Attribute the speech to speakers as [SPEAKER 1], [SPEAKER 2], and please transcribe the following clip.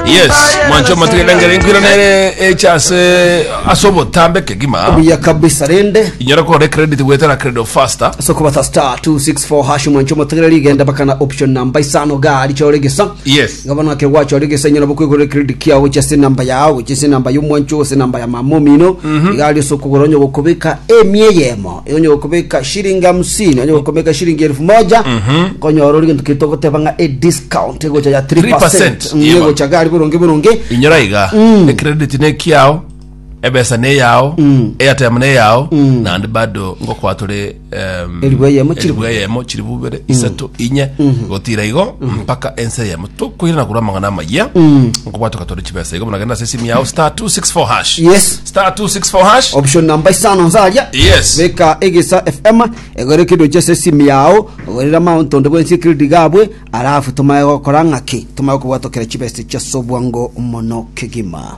[SPEAKER 1] Yes, mwancho matigere ngere nkwirana echase ase obotambe kegima.
[SPEAKER 2] Buya kabisa rende.
[SPEAKER 1] Inyora kore credit gwetera credo faster.
[SPEAKER 2] So kobata star 264 hash mwancho motegereri genda bakana option namba isano gari chore gesa.
[SPEAKER 1] Yes.
[SPEAKER 2] Gabana ke gwacho gesa inyora bokwigorera credit kiao gochia ase namba yao gochia ase namba y'omwancho ase namba ya mama omino. Igari ase okogora onye gokobeka emia eyemo onye gokobeka shilingi hamsini onye gokobeka shilingi elfu moja konyora ori gento keto goteba ng'a e discount egocha ya 3%.
[SPEAKER 1] 3%,
[SPEAKER 2] Mm,
[SPEAKER 1] yeba.
[SPEAKER 2] egocha gari boronge boronge.
[SPEAKER 1] Inyora iga ecredit nekiao ebesa neyao airtime neyao naende bado ngokoa tore em,
[SPEAKER 2] Elibu eyemo chiribu.
[SPEAKER 1] elibu eyemo chiribu ibere isato inye gotira igo mpaka ense eyemo tokoirana korwa amang'ana amayia nkobwatoka tore chibesa igo buna genda ase esimu yao star 264 hash
[SPEAKER 2] Yes.
[SPEAKER 1] star 264 hash
[SPEAKER 2] Option namba isano nsaria.
[SPEAKER 1] Yes.
[SPEAKER 2] Beka egesa FM egore kedoche ase esimu yao ogorera amaonto onde bwensi credit gabwe alafu tomaye gokora ng'aki tomaye kobwatokera chibesa chia sobwango mono kegima.